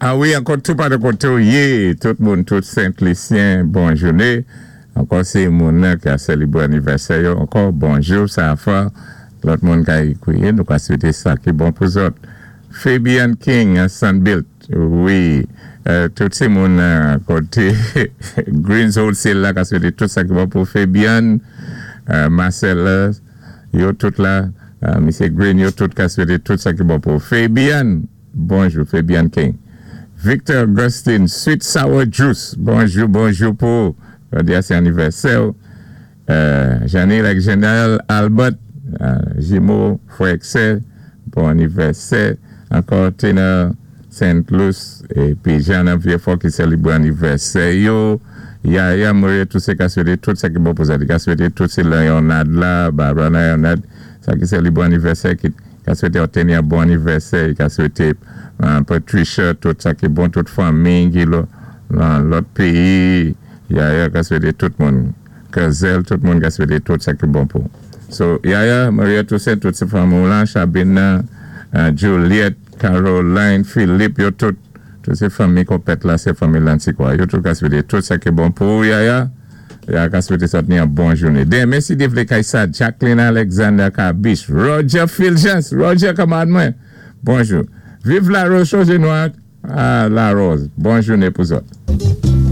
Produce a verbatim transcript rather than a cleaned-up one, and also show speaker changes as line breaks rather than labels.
A wi, ankò tou pa de koté ou yé, tout moun, tout Sent-Lisyen, bon jouné. Ankò sé moun ki ka sélébwé anivèsè yo, ankò bonjou, sa fwa, lòt moun ka ékouté, nou ka swété sa ki bon pou zòt. Fabian King, Sunbuilt, wi, euh, tout sé moun koté Greens Wholesale la ka swété tout sa ki bon pou Fabian, euh, Marcel, yo tout la, euh, Misyé Green, yo tout ka swété tout sa ki bon pou Fabian. Bonjou, Fabian King. Victor Augustine, Sweet Sour Juice. Bonjou, bonjou pou jòdi a sé anivèsè. Euh, Janil ak Janelle Albert, euh, jimo, frè sè, bon anivèsè. Ankò Tina Saint Louis épi Jean Vieux-Fort ki sélébwé anivèsè yo. Yaya Maria tout sé ka swété tout sa ki bon pou sa. Ka swété tout sé Leonard la, Barbara Leonard, sa ki sélébwé anivèsè ki ka swété obteni yon bon anivèsè, ka swété euh, Patricia, tout sa ki bon, tout fanmi ki lan lòt péyi, Yaya ka swété tout moun, Kazel, tout moun ka swété tout sa ki bon pou. So, Yaya, Maria Toussaint, tout sé fanmi la, Chabina, uh, Juliette, Caroline, Philippe, yo tout, tout sé fanmi konplèt la, sé fanmi Lantikwa. Yo tout ka swété tout sa ki bon pou Yaya. Ya ka swété sa ni yon bon jouné. Den, mèsi Devle Kaisa, Jacqueline Alexander Kabish, Roger Fulgence, Roger kanmarad mwen. Bonjou. Viv la Rose, Chose Noire, ah, la Rose. Bon jouné pou zòt.